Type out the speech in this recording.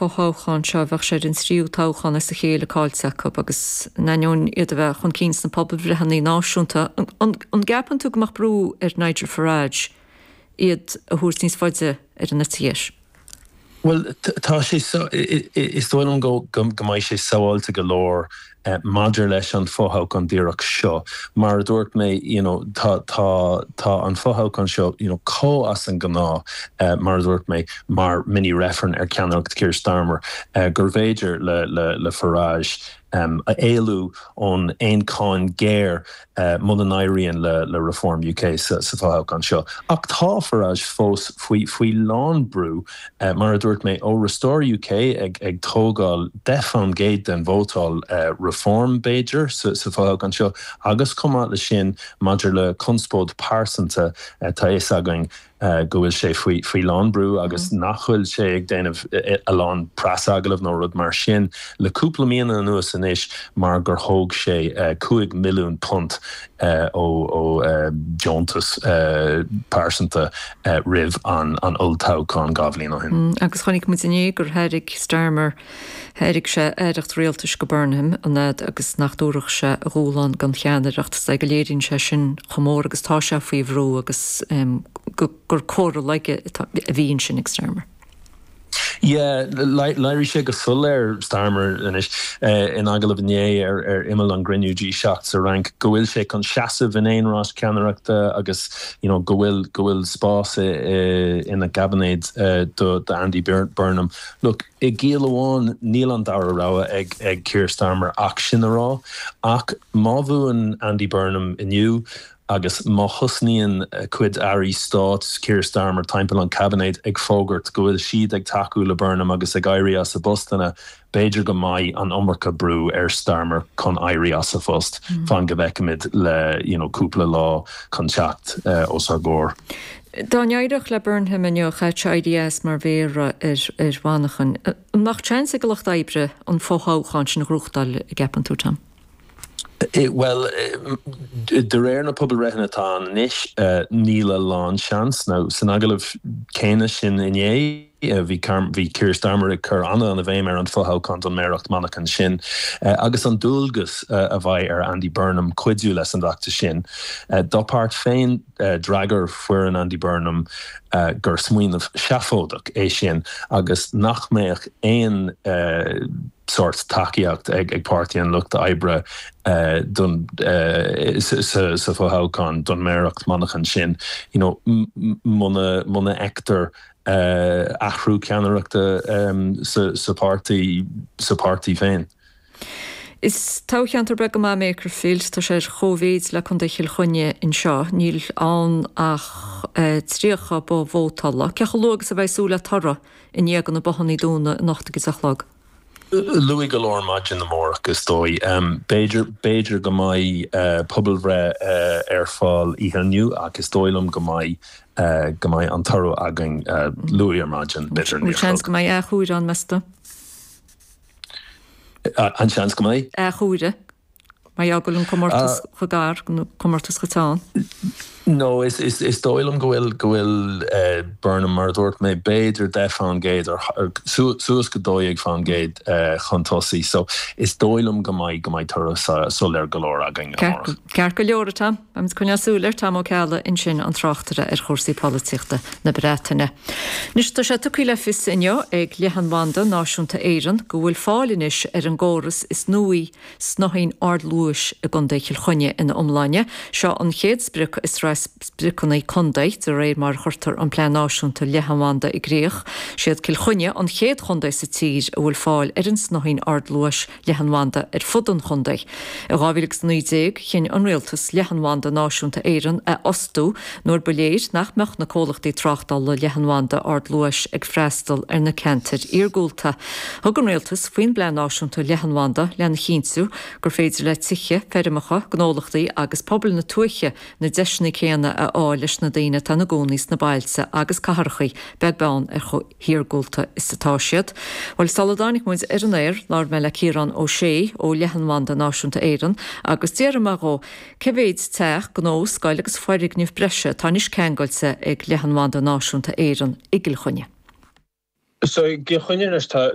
fothoghchán seo, bheadh sé ar an tríú toghchán as a chéile caillte acu agus in ainneoin iad a bheith chun cinn sna pobalbhreitheanna náisiúnta, an gceapann tú go mbeadh brú ar Nigel Farage iad a thabhairt níos faide ar an eite dheis? Bhuel, tá sé, is dóigh liom go mbeidh sé sábháilte go leor maidir leis an fothoghchán díreach seo. Mar a dúirt mé, you know, tá, tá, tá an fothoghchán seo, you know, chomh as an ngnáth, mar a dúirt mé, mar mini-reifreann ar cheannaireacht Keir Starmer, gurbh fhéidir le, le, le Farage a éalú ón aon cáin géar muna n-éiríonn le Reform UK sa fothoghchán seo. Ach tá Farage fós faoi faoi lán brú, mar a dúirt mé, ó Restore UK ag tógáil 10% den vótáil Reform, b'fhéidir, sa fothoghchán seo agus chomh maith leis sin maidir le conspóid pearsanta, tá a fhios againn go bhfuil sé faoi faoi lán brú agus nach bhfuil sé ag déanamh a lán preasagallamh nó rud mar sin le cúpla míonna anuas anois mar gur thóg sé £5 milliún ó ó deontas pearsanta roimh an an olltoghchán 2 bhliain ó shin. Agus chonaic muid inné gur thairg Starmer Thairg sé aireacht rialtais go Burnham an fhad agus nach dtabharfadh sé a dhúshlán don cheannaireacht. Is dóigh go léiríonn sé sin chomh mór agus tá sé faoi bhrú agus gur comhartha laige a bhí ansin ag Starmer. Yeah, léirigh sé go soiléir, Starmer, anois in agallamh inné ar imeall an gcruinniú G7 sa Fhrainc go bhfuil sé chun seasamh in aon rás ceannaireachta agus you know go bhfuil go bhfuil spás ina gcaibinéad do Andy Burnham. Look, I gciall amháin, níl an dara rogha ag Keir Starmer ach sin a rá. Ach má bhuann Andy Burnham inniu agus má thosnaíonn cuid airí stáit Keir Starmer timpeall an chaibinéid ag fógairt go bhfuil siad ag tacú le Burnham agus ag éirí as a bpostanna, b'fhéidir go mbeidh an iomarca brú ar Starmer chun éirí as a phost. Fan go bhfeicfimid le you know cúpla lá chun teacht os ár gcomhair. Dá n-éireodh le Burnham inniu, chaithfeadh sé éirí as mar mhéara ar Mhanchain. An mbeadh seans ag an Lucht Oibre an fothoghchán sin a ghnóthachtáil, an gceapann tú, Tom? Bhuel, de réir na pobalbhreitheanna atá ann anois, níl a lán seans. Now, san agallamh céanna sin inné, bhí bhí Keir Starmer ag cur an-an-bhéim ar an fothoghchán don méaracht Manchain sin agus an dualgas a bheidh ar Andy Burnham cuidiú leis an bhfeachtas sin. Dá páirt féin, D'fhreagair foireann Andy Burnham gur smaoineamh seafóideach é sin agus nach mbeadh aon sórt tacaíocht ag Páirtí an Lucht Oibre don sa fothoghchán don méaracht Manchain sin you know muna muna bhfeictear athrú ceannaireachta sa pháirtí sa pháirtí féin. Is toghcheantar beag go maith Makerfield. Tá sé ar chóimhéid le Contae Chill Chainnigh anseo. Níl ann ach 30 both vótála. Cé chomh luath agus a bheifí ag súil le toradh i ndiaidh do na bothanna dúnadh anocht ag a deich a chlog? Luath go leor maidin amárach, is dóigh. B'fhéidir, b'fhéidir go mbeidh pobalbhreith ar fáil oíche inniu ach is dóigh liom go mbeidh, go mbeidh an toradh againn luath ar maidin, b'fhéidir 9 a chlog. Seans go mbeidh athchomhaireamh ann, meas tú? An seans go mbeidh? Athchomhaireamh. Mar gheall go bhfuil an comórtas chomh gar, nó comórtas chomh teann. No, is dóigh liom go bhfuil, go bhfuil Burnham, mar a dúirt mé, b'fhéidir 10% ar, suas go 12% chun tosaigh. So, is dóigh liom go mbeidh, go mbeidh toradh soiléir go leor againn amárach. Ceart go leor, a Tom. Beimid ag coinneáil súil air, Tom Ó Ceallaigh ansin, an tráchtaire ar chúrsaí polaitíochta na Breataine. Anois, tá sé tugtha le fios inniu ag Leathanbhanda Náisiúnta Éireann go bhfuil fáil anois ar an gcóras is nuaí snáithín ardluais i gContae Chill Chainnigh ina iomláine. Seo an chéad sprioc i sraith spriocanna contae de réir mar a chuirtear an Plean Náisiúnta Leathanbhanda i gcrích. Siad Cill Chainnigh an chéad chontae sa tír a bhfuil fáil ar an snáithín ardluais leathanbhanda ar fud an chontae. I 2019, chinn an Rialtas Leathanbhanda Náisiúnta Éireann a fhostú nuair ba léir nach mbeadh na comhlachtaí tráchtála leathanbhanda ardluais ag freastal ar na ceantair iargúlta. Thug an Rialtas faoin bPlean Náisiúnta Leathanbhanda lena chinntiú gur féidir le tithe, feirmeacha, gnólachtaí agus pobail na tuaithe na deiseanna céanna a fháil leis na daoine atá ina gcónaí sna bailte agus cathracha, beag beann ar chomh hiargúlta is atá siad. Bhuel, sula dtáinig muid ar an aer, labhair mé le Ciarán Ó Sé ó Leathanbhanda Náisiúnta Éireann agus d'fhiafraigh mé dhó cé mhéid teach, gnó, scoil agus foirgneamh breise atá anois ceangailte ag Leathanbhanda Náisiúnta Éireann i gCill Chainnigh. So, i gCill Chainnigh anois tá.